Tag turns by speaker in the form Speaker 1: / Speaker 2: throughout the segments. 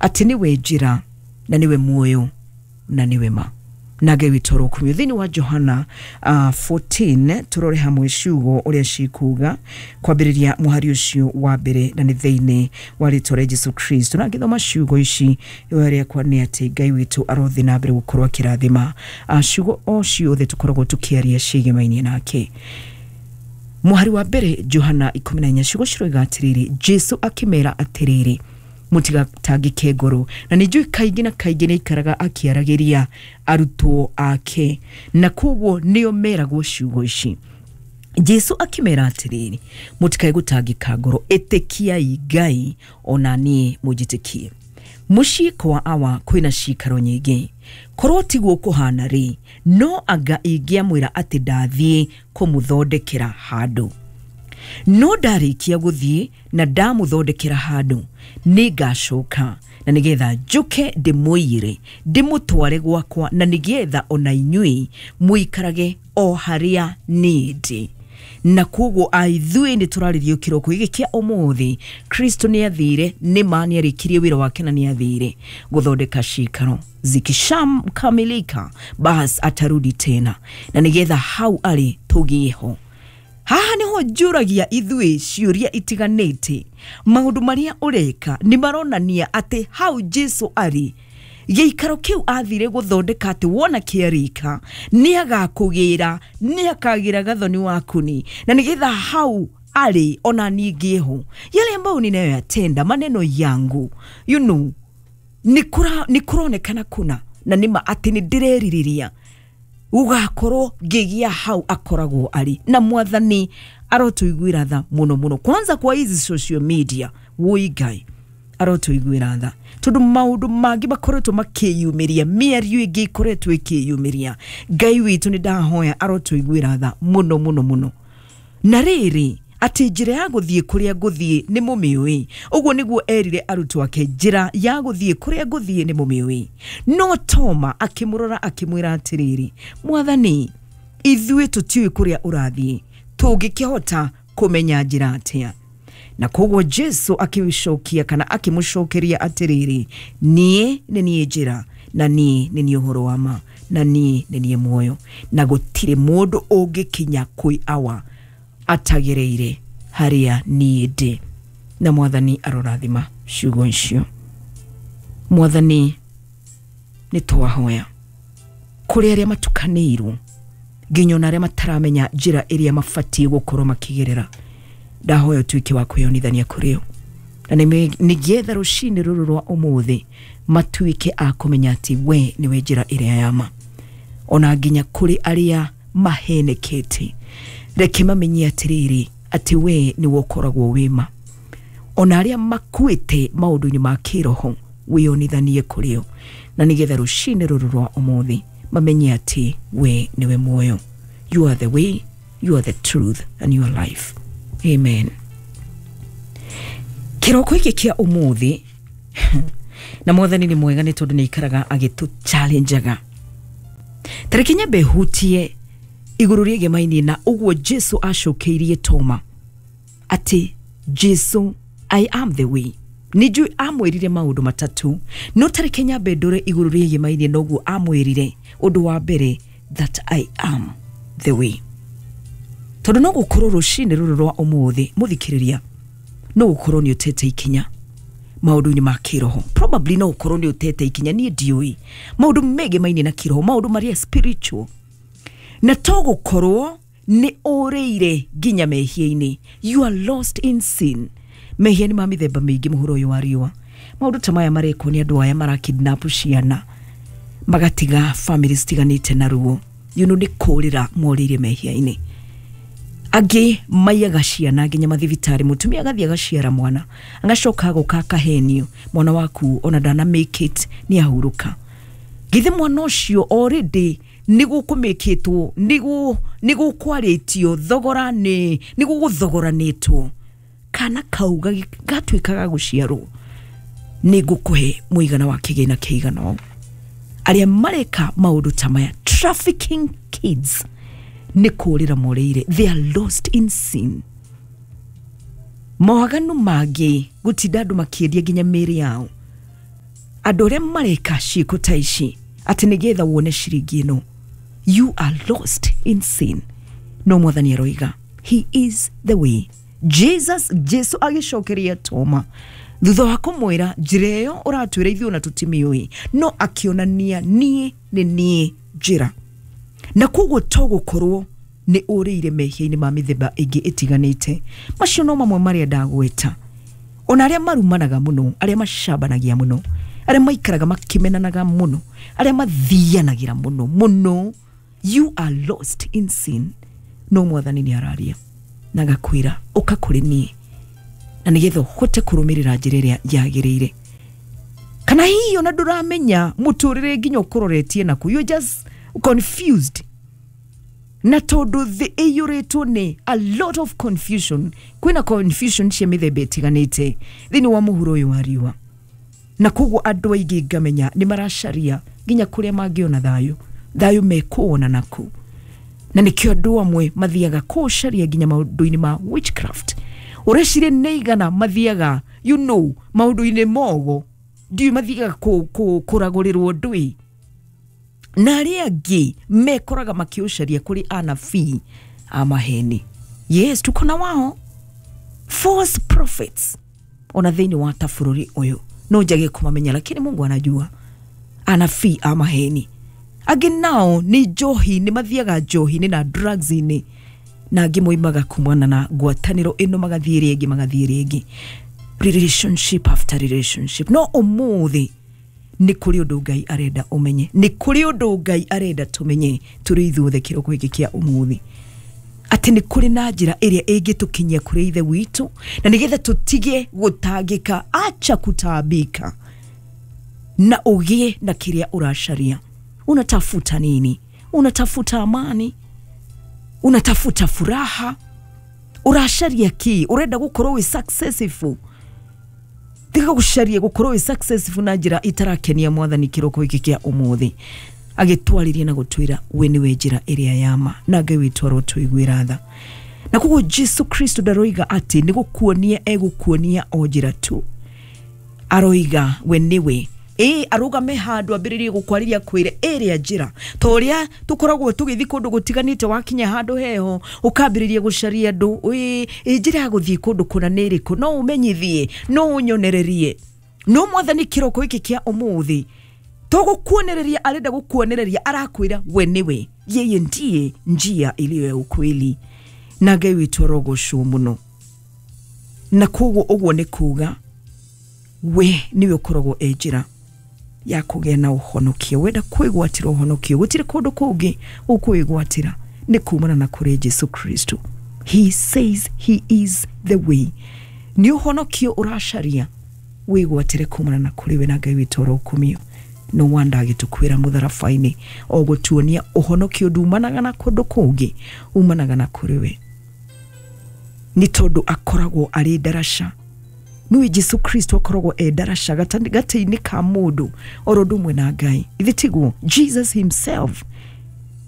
Speaker 1: Atĩ nĩwe njĩra na nĩwe muoyo na nĩwe ma. Na Ngai witũ arokumio. Thĩinĩ wa Johana 14 tũrore hamwe ciugo ũrĩa cikuga kwambĩrĩria mũhari ũcio wa mbere, na nĩ thĩinĩ wa rĩtwa rĩa Jesu Kristo. Na ngĩthoma ciugo ici, ihoya rĩakwa nĩ atĩ Ngai witũ arothiĩ na mbere gũkorwo akĩrathima ciugo o ciothe tũkoragwo tũkĩaria ciĩgemainie nake. Mũhari wa mbere, Johana 14, ciugo ciroiga atĩrĩrĩ, Jesu akĩmera atĩrĩrĩ, mũtigatangĩke ngoro. Na nĩ njũĩ kaingĩ na kaingĩ nĩ aikaraga akĩaragĩria arutwo ake, na koguo nĩo meragwo ciugo ici. Jesu akĩmera atĩrĩrĩ, mũtikae gũtangĩka ngoro, ĩtĩkiai Ngai ona niĩ mũnjĩtĩkie. Mũciĩ kwa Awa kwĩna cikaro nyingĩ, korwo tiguo kũhana rĩ, no anga ingĩamwĩra atĩ ndathiĩ kũmũthondekera handũ. No ndarĩkia gũthiĩ na ndamũthondekera handũ, nĩngacoka na nĩgetha njũke ndĩmũiyĩre ndĩmũtware gwakwa, na nĩgetha ona inyuĩ mũikarage o harĩa niĩ ndĩ. Na koguo aithuĩ nĩ tũrarĩrio kĩroko gĩkĩ kĩa ũmũthĩ, Kristo nĩ athire, nĩ ma nĩ arĩkirie wĩra wake na nĩ athire gũthondeka cikaro, zikishamkamilika bas atarudi tena, na nĩgetha hau arĩ tũgĩe ho. Haha niho njũragia ithuĩ ciũria itiganĩte. Maũndũ marĩa ũreka nĩ maronania atĩ hau Jesu arĩ, gĩikaro kĩu athire gũthondeka, atĩ wona kĩarĩka nĩ agakũgĩra, nĩ akagĩra gathoni wakuni, na nĩgetha hau arĩ ona niĩ ngĩe ho. Yale ambayo ninayoyatenda, maneno yangu, nĩ kũronekana kuna na nĩma atĩ nĩ ndĩrerirĩria gũgakorwo ngĩgĩa hau akoragwo arĩ. Na Mwathani arotũiguĩra tha mũno mũno, kwanza kwa hizi social media. Woi Ngai arotũiguĩra tha, tondũ maũndũ mangĩ makoretwo makĩyumĩria, mĩario ĩngĩ ĩkoretwo ĩkĩyumĩria. Ngai witũ nĩ ndahoya arotũiguĩra tha mũno mũno mũno. Na rĩrĩ, atĩ njĩra ya gũthiĩ kũrĩa ngũthiĩ nĩ mũmĩũĩ. Ũguo nĩguo erire arutwo ake, njĩra ya gũthiĩ kũrĩa ngũthiĩ nĩ mũmĩũĩ. No Toma akĩmũrora akĩmwĩra atĩrĩrĩ, Mwathani, ithuĩ tũtiũĩ kũrĩa ũrathiĩ, tũngĩkĩhota kũmenya njĩra atĩa? Na koguo Jesu akĩcokia kana akĩmũcokeria atĩrĩrĩ, niĩ nĩ niĩ njĩra, na niĩ nĩ niĩ ũhoro wa ma, na niĩ nĩ niĩ muoyo, na gũtirĩ mũndũ ũngĩkinya kwĩ Awa atagereire harĩa niĩ ndĩ. Na Mwathani arorathima ciugo icio. Mwathani, nĩ twahoya kũrĩ arĩa matukanĩirwo, nginya ona arĩa mataramenya njĩra ĩrĩa mabatiĩ gũkorwo makĩgerera, ndahoya ũtuĩke wa kwĩyonithania kũrĩ o, na nĩgetha rũcinĩ rũrũ rwa ũmũthĩ matuĩke a kũmenya atĩ we nĩwe njĩra ĩrĩa ya ma. Ona nginya kũrĩ arĩa mahenekete, reke mamenye atĩrĩrĩ, atĩ we nĩwe ũkoragwo wĩma. Ona arĩa makuĩte maũndũ-inĩ ma kĩroho, wĩyonithanie kũrĩ o, na nĩgetha rũcinĩ rũrũ rwa ũmũthĩ mamenye atĩ we nĩwe muoyo. You are the way, you are the truth and you are life. Amen. Kĩroko gĩkĩ kĩa ũmũthĩ, na Mwathani nĩ mwega nĩ tondũ nĩ aikaraga agĩtũ challengeaga. Tareke nyambe hutie igũrũ rĩegemainie na ũguo Jesu acokeirie Toma atĩ Jesu, I am the way. Nĩ njũĩ amwĩrire maũndũ matatũ, no tareke nyambe ndore igũrũ rĩegemainie na ũguo amwĩrire. Ũndũ wa mbere, that I am the way. Tondũ no gũkorwo rũcinĩ rũrũ rwa ũmũthĩ, mũthikĩrĩria, no gũkorwo nĩ ũtete ikinya maũndũ-inĩ ma kĩroho. Probably no ũkorwo nĩ ũtete ikinya, niĩ ndiũĩ maũndũ megemainie na kĩroho, maũndũ marĩa spiritual, na to gũkorwo nĩ ũrĩire nginya mehia-inĩ. You are lost in sin. Mehia nĩ ma mĩthemba mĩingĩ mũhuro ũyũ wa riũa. Maũndũ ta maya marekwo nĩ andũ aya marakidnap ciana, magatiga family citiganĩte na ruo, nĩ kũrĩra morĩire mehia-inĩ. Angĩ maiyaga ciana nginya mathibitarĩ, mũtumia agathiĩ agaciara mwana, agacoka agoka akahenio, mwana waku ona ndana make it, nĩ ahurũka. Githĩ mwana ũcio already nĩ gũkũmĩkĩtwo, nĩ gũkwarĩtio thogora, nĩ gũgũthogoranĩtwo, kana kau gatuĩka ga gũciarwo nĩ ngũkũhe mũigana wa kĩgĩna kĩigana ũũ. Arĩa mareka maũndũ ta maya, trafficking kids, nĩ kũrĩra morĩire. They are lost in sin. Mawaganu mangĩ, gũtinda andũ makĩendia nginya mĩĩrĩ yao. Andũ arĩa mareka ciĩko ta ici atĩ nĩgetha wone ciringi ĩno, you are lost in sin. No mwathani aroiga he is the way. Jesus, Jesu agĩcokeria Toma thutha wa kũmwĩra njĩra ĩyo ũratwĩra ithuĩ ona tũtimĩũĩ, no akĩonania niĩ nĩ niĩ njĩra. Na koguo to gũkorwo nĩ ũrĩire mehia-inĩ ma mĩthemba ĩngĩ ĩtiganĩte, macio no mamwe marĩa ndagweta. Ona arĩa marumanaga mũno, arĩa macambanagia mũno, arĩa maikaraga makĩmenanaga mũno, arĩa mathianagĩra mũno mũno, you are lost in sin. No mwathani nĩ araria na agakwĩra ũka kũrĩ niĩ, na nĩgetha ũhote kũrũmĩrĩra njĩra ĩrĩa yagĩrĩire. Kana hihi ona ndũramenya mũtũrĩre nginya ũkũroretie naku, you're just confused. Na tondũ thĩ ĩiyũrĩtwo nĩ a lot of confusion, kwĩna confusion cia mĩthemba ĩtiganĩte thĩinĩ wa mũhuro ũyũ wa riũa, na koguo andũ aingĩ ngamenya nĩ maracaria nginya kũrĩa mangĩona thayũ, thayũ mekuona naku. Na nĩkĩo andũ amwe mathiaga kũũcaria nginya maũndũ-inĩ ma witchcraft. Ũreciria nĩ igana mathiaga, you know, maũndũ-inĩ mogo, ndiũĩ mathiaga kũragũrĩrwo ndũĩ. Na arĩa angĩ mekoraga makĩũcaria kũrĩ anabii a maheni. Yes, tuko na wao false prophets ona thĩinĩ wa ta bũrũri ũyũ. No njage kũmamenya, lakini Mungu anajua. Anabii a maheni. Angĩ nao nĩ njohi, nĩ mathiaga njohi-inĩ na drugs-inĩ, na angĩ moimaga kumana na ngwatanĩro ĩno magathiĩ rĩngĩ, magathiĩ rĩngĩ, relationship after relationship. No ũmũthĩ nĩ kũrĩ ũndũ Ngai arenda ũmenye, nĩ kũrĩ ũndũ Ngai arenda tũmenye tũrĩ ithuothe kĩroko gĩkĩ kĩa ũmũthĩ, atĩ nĩ kũrĩ na njĩra ĩrĩa ĩngĩtũkinyia kũrĩ Ithe witũ, na nĩgetha tũtige gũtangĩka, acha kutaabika, na ũgĩe na kĩrĩa ũracaria. Unatafuta nini? Unatafuta amani? Unatafuta furaha? Ũracaria kĩ? Ũrenda gũkorwo wĩ successful? Tiga gũcaria gũkorwo wĩ successful na njĩra itarakenia mwathani kĩroko gĩkĩ kĩa ũmũthĩ. Agĩtwarĩria na gũtwĩra we nĩwe njĩra ĩrĩa ya ma, na Ngai witũ arotũiguĩra tha. Na koguo Jesu Kristo ndaroiga atĩ nĩ gũkuonia egũkuonia o njĩra tu, aroiga we nĩwe. Ĩ arũgame handũ ambĩrĩrie gũkwarĩria kwĩre ĩrĩa njĩra, ta ũrĩa tũkoragwo tũgĩthiĩ kũndũ gũtiganĩte, wakinya handũ heho ũkambĩrĩria gũcaria andũ, ĩ njĩra ya gũthiĩ kũndũ kũna nĩ ĩrĩkũ, no ũmenyithie, no ũnyonererie. No mwathani kĩroko gĩkĩ kĩa ũmũthĩ to gũkuonereria arenda gũkuonereria, arakwĩra we nĩwe, yeye ndiye njia iliyo ya ukweli. Na Ngai witũ arogocwo mũno. Na koguo ũguo nĩ kuga we nĩwe ũkoragwo e njĩra ya kũgĩa na ũhonokio. Wenda kwĩgwatĩra ũhonokio, gũtirĩ kũndũ kũngĩ ũkwĩgwatĩra, nĩ kumana na kũrĩ Jesu Kristo. He says he is the way. Nĩ ũhonokio ũracaria, wĩgwatĩre kumana na kũrĩ we, na Ngai witũ arokumio. No wonder agĩtũkwĩra mũtharaba-inĩ o gũtuonia ũhonokio ndumanaga na kũndũ kũngĩ, umanaga na kũrĩ we, nĩ tondũ akoragwo arĩ ndaraca. Nĩwe Jesu Kristo akoragwo e ndaraca gatagatĩ-inĩ ka mũndũ oro ũndũ ũmwe na Ngai. Ithe tiguo? Jesus himself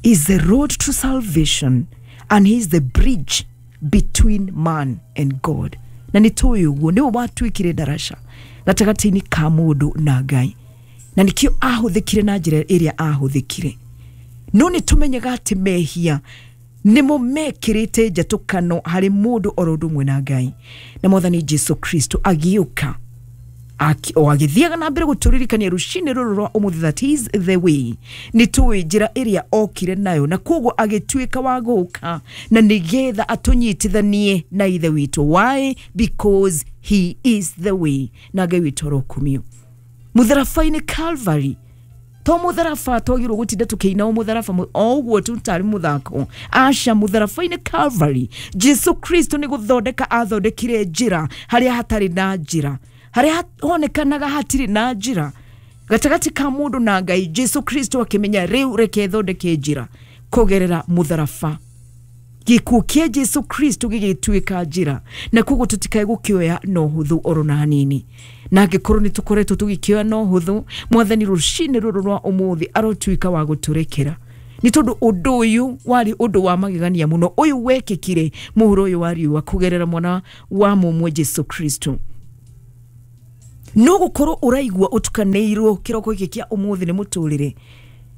Speaker 1: is the road to salvation and he is the bridge between man and God. Na nĩ tũĩ ũguo, nĩwe watuĩkire ndaraca gatagatĩ-inĩ ka mũndũ na Ngai, na nĩkĩo ahũthĩkire na njĩra ĩrĩa ahũthĩkire. No nĩ tũmenyaga atĩ mehia nĩmo mekĩrĩte njatũkano harĩ mũndũ oro ũndũ ũmwe na Ngai. Na mwathani Jesu Kristo agĩũka o agĩthiaga na mbere gũtũririkania rũcinĩ rũrũ rwa ũmũthĩ that he is the way. Nĩ tũĩ njĩra ĩrĩa okire nayo, na koguo agĩtuĩka wa gũka na nĩgetha atũnyitithanie na Ithe witũ. Why? Because he is the way. Na Ngai witũ arokumio. Mũtharaba-inĩ Calvary, to mũtharaba twagĩrĩirwo gũtinda tũkĩina o mũtharaba o ũguo tu tarĩ mũthako. Aca, mũtharaba-inĩ Calvary Jesu Kristo nĩ gũthondeka athondekire njĩra harĩa hatarĩ na njĩra, harĩa honekanaga hatirĩ na njĩra gatagatĩ ka mũndũ na Ngai. Jesu Kristo akĩmenya rĩu reke thondeke njĩra kũgerera mũtharaba. Gĩkuũ kĩa Jesu Kristo gĩgĩtuĩka njĩra, na koguo tũtikae gũkĩoya na ũhũthũ oro na hanini. Na angĩkorwo nĩ tũkoretwo tũgĩkĩoya na ũhũthũ, mwathani rũcinĩ rũrũ rwa ũmũthĩ arotuĩka wa gũtũrekera, nĩ tondũ ũndũ ũyũ warĩ ũndũ wa magegania mũno, ũyũ wekĩkire mũhuro ũyũ wa riũa kũgerera mwana wa mũmwe Jesu Kristo. No gukorwo uraigua utukanĩirwo kĩroko gĩkĩ kĩa ũmũthĩ nĩ mũtũrĩre,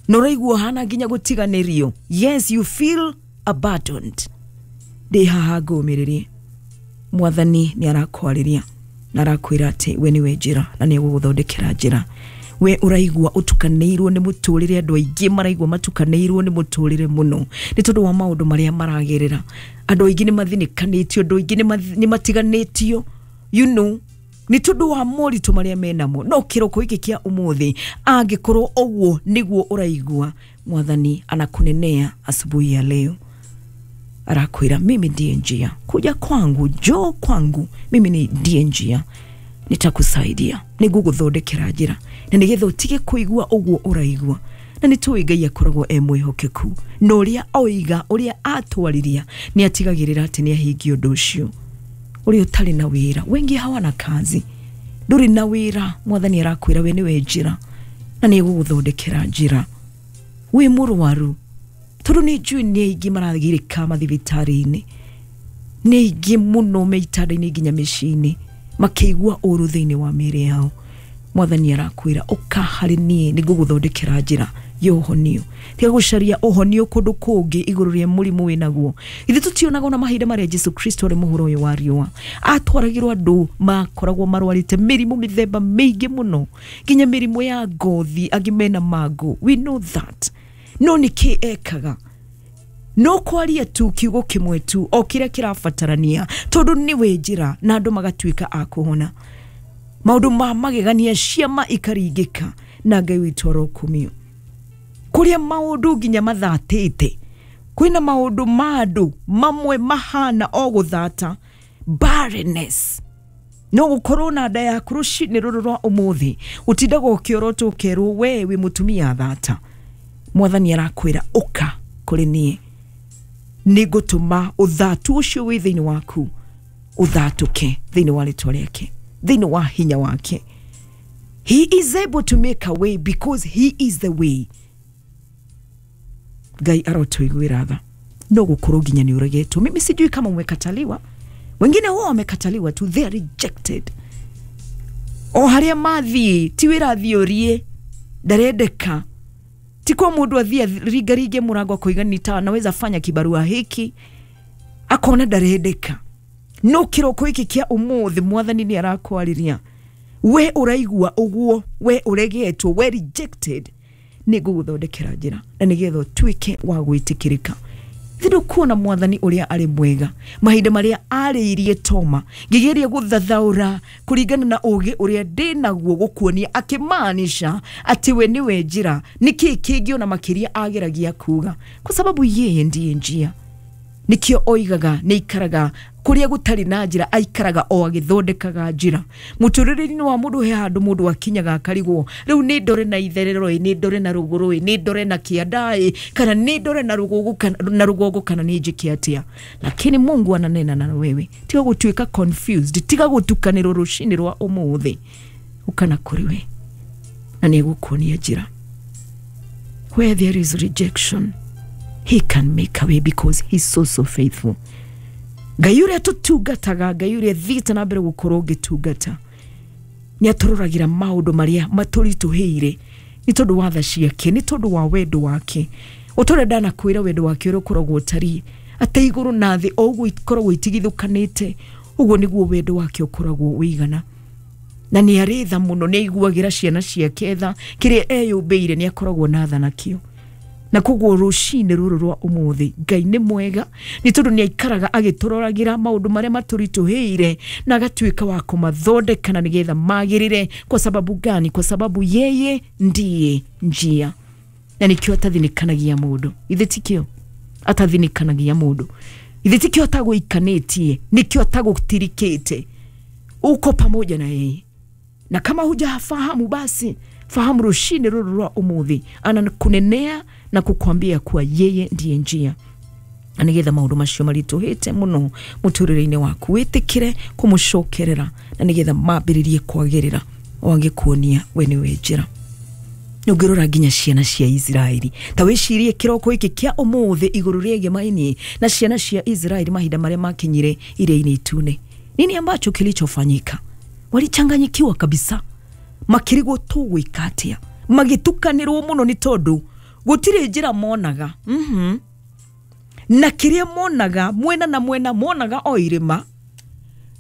Speaker 1: na ũraigua hana nginya gũtiganĩrio. Yes, you feel abandoned. Ndĩ haha ngũmĩrĩrie, mwathani nĩ arakwarĩria na arakwĩra atĩ we nĩwe njĩra na nĩ egũgũthondekera njĩra. We ũraigua ũtukanĩirwo nĩ mũtũrĩre, andũ aingĩ maraigua matukanĩirwo nĩ mũtũrĩre mũno nĩ tondũ wa maũndũ marĩa maragerera. Andũ aingĩ nĩ mathinĩkanĩtio, andũ aingĩ nĩ matiganĩtio, you know, nĩ tondũ wa moritũ marĩa menamo. No kĩroko gĩkĩ kĩa ũmũthĩ, angĩkorwo ũguo nĩguo ũraigua, mwathani anakunenea asubuhi ya leo, arakwĩra mimi ndiye njia, kuja kwangu, njoo kwangu, mimi ni ndiye njia, nitakusaidia, nĩngũgũthondekera njĩra na nĩgetha ũtige kũigua ũguo ũraigua. Na nĩ tũĩ Ngai akoragwo e mwĩhokeku, na ũrĩa oiga, ũrĩa atwarĩria, nĩ atigagĩrĩra atĩ nĩ ahingia ũndũ ũcio. Ũrĩa ũtarĩ na wĩra, wengi hawana kazi, ndũrĩ na wĩra, mwathani arakwĩra we nĩwe njĩra na nĩ egũgũthondekera njĩra. Wĩ mũrwaru, tondũ nĩ njũĩ nĩ aingĩ maragirĩka mathibitarĩ-inĩ, nĩ aingĩ mũno me itanda-inĩ nginya mĩciĩ-inĩ makĩigua ũru thĩinĩ wa mĩĩrĩ yao. Mwathani arakwĩra ũka harĩ niĩ, nĩngũgũthondekera njĩra ya ũhonio. Tiga gũcaria ũhonio kũndũ kũngĩ igũrũ rĩa mũrimũ wĩnaguo. Ithuĩ tũtionaga ona mahinda marĩa Jesu Kristo arĩ mũhuro ũyũ wa riũa, atwaragĩrwo andũ makoragwo marwarĩte mĩrimũ mĩthemba mĩingĩ mũno, nginya mĩrimũ ya ngothi, angĩ mena mangũ, we know that. No nĩkĩ ekaga? No kwaria tu kiugo kĩmwe tu o kĩrĩa kĩrabatarania, tondũ nĩwe njĩra, na andũ magatuĩka a kũhona. Maũndũ ma magegania, ciama ikaringĩka, na Ngai witũ arokumio. Kũrĩa maũndũ nginya mathatĩte, kwĩna maũndũ ma andũ mamwe mahana o gũthata, barrenness. No gũkorwo na nda yaku rũcinĩ rũrũ rwa ũmũthĩ, ũtindaga ũkĩorotwo ũkerwo we wĩ mũtumia thata. Mwathani arakwĩra ũka kũrĩ niĩ, nĩngũtũma ũthatu ũcio wĩ thĩinĩ waku ũthatũke thĩinĩ wa rĩtwa rĩake, thĩinĩ wa hinya wake. He is able to make a way because he is the way. Ngai arotũiguĩra tha. No gũkorwo nginya nĩ ũregetwo. Mimi sijui kama umekataliwa, wengine wao wamekataliwa tu, they are rejected. O harĩa mathiĩ ti wĩra athiĩ ũrie, ndarendeka. Ti kwa mũndũ athiĩ ringaringe mũrango akoiga nita naweza fanya kibarua hiki, akona ndarendeka. No kĩroko gĩkĩ kĩa ũmũthĩ mwathani nĩ arakwarĩria, we ũraigua ũguo, we ũregetwo, we rejected, nĩ ngũgũthondekera njĩra na nĩgetha ũtuĩke wa gwĩtĩkĩrĩka. Thĩ kuona mwathani ũrĩa arĩ mwega, mahinda marĩa arĩirie Toma, ngĩgeria gũthathaũra kũringana na ũgĩ ũrĩa ndĩ naguo gũkuonia, akĩmaanisha atĩ we nĩwe njĩra. Nĩkĩ kĩngĩ ona makĩria ageragia kuga? Kwa sababu yeye ndiye njia. Nĩkĩo oigaga nĩ aikaraga kũrĩa gũtarĩ na njĩra, aikaraga o agĩthondekaga njĩra. Mũtũrĩre-inĩ wa mũndũ he handũ mũndũ akinyaga akarigwo, rĩu nĩ ndore na itherero ĩ, nĩ ndore na rũgũrũ ĩ, nĩ ndore na kĩanda ĩ, kana nĩ ndore na rũgongo kana, na rũgongo kana nĩ njĩke atĩa. Lakini Mungu ananena na wewe, tiga gũtuĩka confused, tiga gũtukanĩrwo rũcinĩ rwa ũmũthĩ, ũkana kũrĩ we na nĩ egũkuonia njĩra. Where there is rejection, he can make a way because he's so so faithful. Ngai ũrĩa tũtungataga, Ngai ũrĩa thiĩte na mbere gũkorwo ngĩtungata, nĩ atũroragĩra maũndũ marĩa matũritũhĩire nĩ tondũ wa tha ciake, nĩ tondũ wa wendo wake. O ta ũrĩa ndanakwĩra wendo wake ũrĩa ũkoragwo ũtariĩ, atĩ igũrũ na thĩ o ũguo ikoragwo itigithũkanĩte, ũguo nĩguo wendo wake ũkoragwo ũigana. Na nĩ arĩ tha mũno, nĩ aiguagĩra ciana ciake tha, kĩrĩa eyũmbĩire nĩ akoragwo na tha nakĩo. Na koguo rũcinĩ rũrũ rwa ũmũthĩ Ngai nĩ mwega, nĩ tondũ nĩ aikaraga agĩtũroragĩra maũndũ marĩa matũritũhĩire na agatuĩka wa kũmathondeka na nĩgetha magĩrĩre. Kwa sababu gani? Kwa sababu yeye ndiye njia. Na nĩkĩo atathinĩkanagia mũndũ, ithe tikĩo atathinĩkanagia mũndũ, ithe tikĩo atagũikanĩtie, nĩkĩo atagũtirikĩte. Uko pamoja na yeye, na kama hujafahamu basi fahamu rũcinĩ rũrũ rwa ũmũthĩ anakunenea na kukwambia kuwa yeye ndiye njia, na nĩgetha maũndũ macio maritũhĩte mũno mũtũrĩre-inĩ waku wĩtĩkĩre kũmũcokerera na nĩgetha mambĩrĩrie kwagĩrĩra, o agĩkuonia we nĩwe njĩra. Ũngĩrora nginya ciana cia Isiraeli, ta wĩcirie kĩroko gĩkĩ kĩa ũmũthĩ igũrũ rĩgiĩ maini na ciana cia Isiraeli mahinda marĩa makinyire iria-inĩ itune. Nini ambacho kilichofanyika? Walichanganyikiwa kabisa, makĩrigwo tũgwĩka atĩa, magĩtukanĩrwo mũno nĩ tondũ gũtirĩ njĩra monaga. Na kĩrĩa monaga mwena na mwena monaga o irĩma,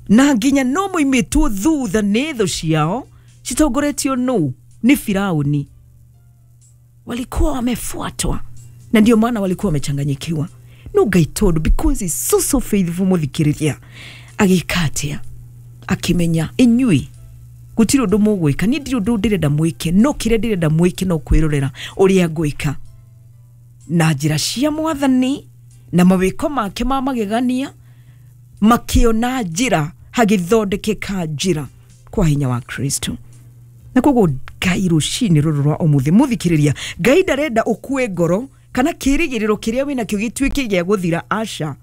Speaker 1: na nginya no moimĩtwo thutha nĩ thũ ciao citongoretio nũ? Nĩ Firauni. Walikuwa wamefuatwa na ndio maana walikuwa wamechanganyikiwa. No Ngai tondũ because he's so so faithful, mũthikĩrĩria, agĩka atĩa? Akĩmenya inyuĩ gũtirĩ ũndũ mũgwĩka, niĩ ndirĩ ũndũ ndĩrenda mwĩke, no kĩrĩa ndĩrenda mwĩke no kwĩrorera ũrĩa ngwĩka na njĩra cia mwathani na mawĩko make ma magegania. Makĩona njĩra, hagĩthondekeka njĩra kwa hinya wa Kristo. Na koguo Ngai rũcinĩ rũrũ rwa ũmũthĩ, mũthikĩrĩria, Ngai ndarenda ũkue ngoro kana kĩrĩgĩrĩro kĩrĩa wĩnakĩo gĩtuĩke gĩa gũthira, aca,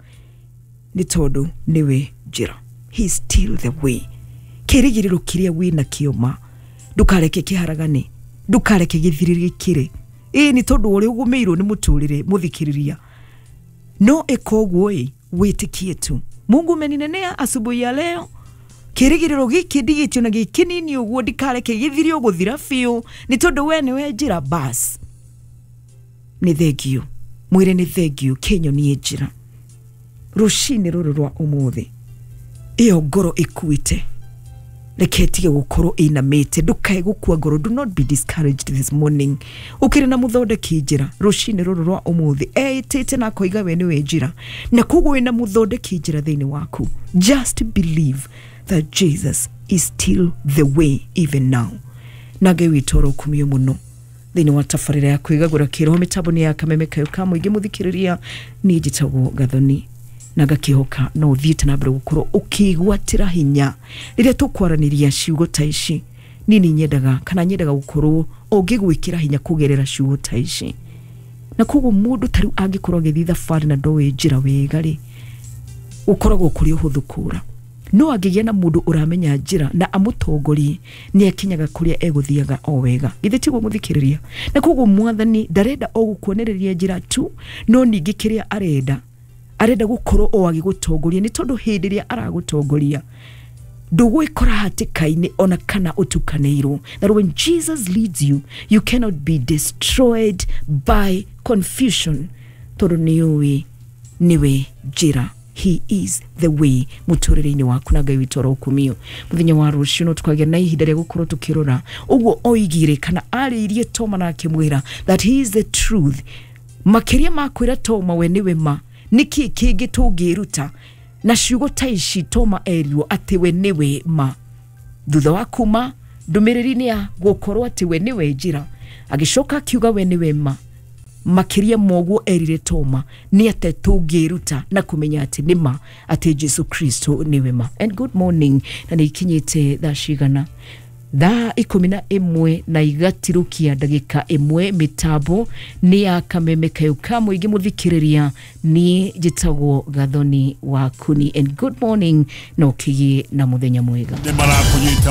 Speaker 1: nĩ tondũ nĩwe njĩra. He is still the way. Kĩrĩgĩrĩro kĩrĩa wĩnakĩo ma ndũkareke kĩharagane, ndũkareke gĩthirĩrĩkĩre, ĩĩ nĩ tondũ ũrĩa ũgũmĩirwo nĩ mũtũrĩre, mũthikĩrĩria, no ĩka ũguo ĩ wĩtĩkie tu. Mungu umeninenea asubuhi ya leo, kĩrĩgĩrĩro gĩkĩ ndigĩtio na gĩ kĩnini ũguo ndikareke gĩthire ũgũthira biũ, nĩ tondũ we nĩwe njĩra. Bas, nĩ thengio, mwĩre nĩ thengio kĩnyonie njĩra rũcinĩ rũrũ rwa ũmũthĩ. Ĩyo ngoro ĩkuĩte reke ĩtige gũkorwo ĩinamĩte, ndũkae gũkua ngoro. Do not be discouraged this morning. Ũkĩrĩ na mũthondeki njĩra rũcinĩ rũrũ rwa ũmũthĩ, eĩtĩte na akoiga we nĩwe njĩra, na koguo wĩna mũthondeki njĩra thĩinĩ waku. Just believe that Jesus is still the way even now. Na Ngai witũ orokumio mũno thĩinĩ wa tabarĩra ya kwĩgagũra kĩroho, mĩtambo nĩ ya Kameme Kayo ka Mũingĩ. Mũthikĩrĩria, niĩ njĩtagwo Gathoni na ngakĩhoka no ũthiĩte na mbere gũkorwo ũkĩgwatĩra hinya rĩrĩa tũkwaranĩria ciugo ta ici. Niĩ nĩ nyendaga kana nyendaga gũkorwo ũngĩgwĩkĩra hinya kũgerera ciugo ta ici. Na koguo mũndũ ta rĩu angĩkorwo agĩthiĩ thabarĩ na ndoĩ njĩra wega rĩ, gũkoragwo kũrĩ ũhũthũ kũra, no angĩgĩa na mũndũ ũramenya njĩra na amũtongorie, nĩ akinyaga kũrĩa egũthiaga o wega. Githĩ tiguo, mũthikĩrĩria? Na koguo mwathani ndarenda o gũkuonereria njĩra tu, no ningĩ kĩrĩa arenda, arenda gũkorwo o agĩgũtongoria, nĩ tondũ hĩndĩ ĩrĩa aragũtongoria ndũgwĩkora hatĩka-inĩ ona kana ũtukanĩirwo. That when Jesus leads you, you cannot be destroyed by confusion, tondũ nĩũĩ nĩwe njĩra. He is the way mũtũrĩre-inĩ waku. Na Ngai witũ arokumio. Mũthenya wa rũciũ no tũkagĩa na ihinda rĩa gũkorwo tũkĩrora ũguo oigire kana arĩirie Toma na akĩmwĩra that he is the truth. Makĩria ma kwĩra Toma we nĩwe ma, nĩkĩ kĩngĩ tũngĩruta na ciugo ta ici Toma erirwo atĩ we nĩwe ma, thutha wa kuma ndũmĩrĩri-inĩ ya gũkorwo atĩ we nĩwe njĩra, agĩcoka akiuga we nĩwe ma? Makĩria moguo erire Toma, nĩ atĩ tũngĩruta na kũmenya atĩ nĩ ma atĩ Jesu Kristo nĩwe ma? And good morning. Na nĩ ikinyĩte thaa cigana? Thaa 11 na igatirũkia ndagĩka 1. Mĩtambo nĩ ya Kameme Kayo ka Mũingĩ. Mũthikĩrĩria, niĩ njĩtagwo Gathoni wa Kuni, and good morning, na ũkĩgĩe na mũthenya mwega.
Speaker 2: Nĩ marakũnyita.